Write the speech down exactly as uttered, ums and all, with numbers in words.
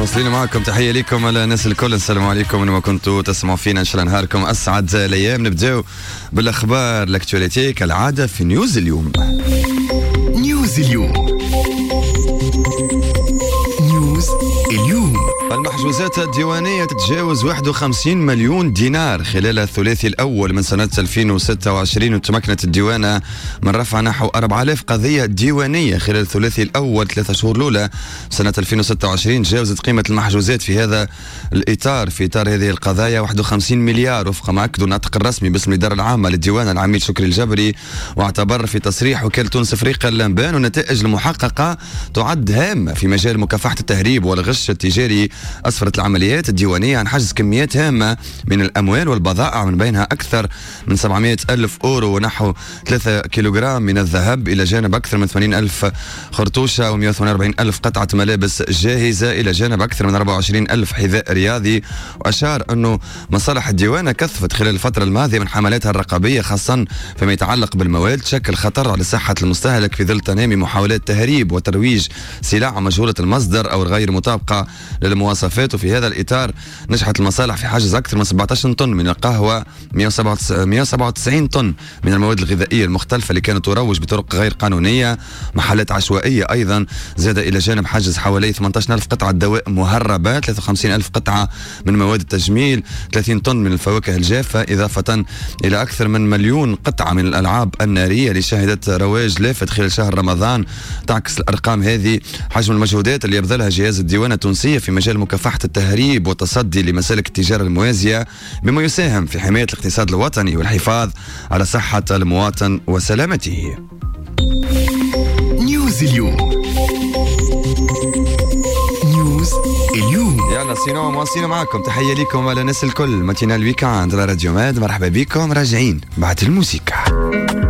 واصلين معكم، تحية لكم على الناس الكل، السلام عليكم وين ما كنتوا تسمعوا فينا، ان شاء الله نهاركم اسعد الايام. نبداو بالاخبار l'actualité كالعادة في نيوز اليوم. نيوز اليوم، نيوز اليوم. المحجوزات الديوانية تتجاوز واحد وخمسين مليون دينار خلال الثلاثي الأول من سنة ألفين وستة وعشرين، وتمكنت الديوانة من رفع نحو أربعة آلاف قضية ديوانية خلال الثلاثي الأول، ثلاثة شهور الأولى سنة ألفين وستة وعشرين. تجاوزت قيمة المحجوزات في هذا الإطار، في إطار هذه القضايا، واحد وخمسين مليار، وفق ما أكد الناطق الرسمي باسم الإدارة العامة للديوانة العميد شكري الجبري. واعتبر في تصريح وكالة تونس افريقيا للأنباء أن النتائج المحققة تعد هامة في مجال مكافحة التهريب والغش التجاري. أسفرت العمليات الديوانية عن حجز كميات هامة من الأموال والبضائع، من بينها أكثر من سبعمئة ألف أورو ونحو ثلاثة كيلوغرام من الذهب، إلى جانب أكثر من ثمانين ألف خرطوشة ومئة وثمانية وأربعين ألف قطعة ملابس جاهزة، إلى جانب أكثر من أربعة وعشرين ألف حذاء رياضي. وأشار أنه مصالح الديوانة كثفت خلال الفترة الماضية من حملاتها الرقابية، خاصة فيما يتعلق بالمواد تشكل خطر على صحة المستهلك، في ظل تنامي محاولات تهريب وترويج سلع مجهولة المصدر أو الغير مطابقة للمواصفات. وفي هذا الإطار نجحت المصالح في حجز أكثر من سبعة عشر طن من القهوة، مئة وسبعة وتسعين طن من المواد الغذائية المختلفة اللي كانت تروج بطرق غير قانونية، محلات عشوائية أيضا، زاد إلى جانب حجز حوالي ثمانية عشر ألف قطعة دواء مهربة، ثلاثة وخمسين ألف قطعة من مواد التجميل، ثلاثين طن من الفواكه الجافة، إضافة إلى أكثر من مليون قطعة من الألعاب النارية اللي شهدت رواج لافت خلال شهر رمضان. تعكس الأرقام هذه حجم المجهودات اللي يبذلها جهاز الديوانة التونسية في مجال مكافحة التهريب والتصدي لمسالك التجارة الموازية، بما يساهم في حماية الاقتصاد الوطني والحفاظ على صحة المواطن وسلامته. نيوز اليوم، نيوز اليوم. يلا sinon مواصلين معكم، تحية لكم على الناس الكل، matinale week-end على راديو ماد، مرحبا بكم، راجعين بعد الموسيقى.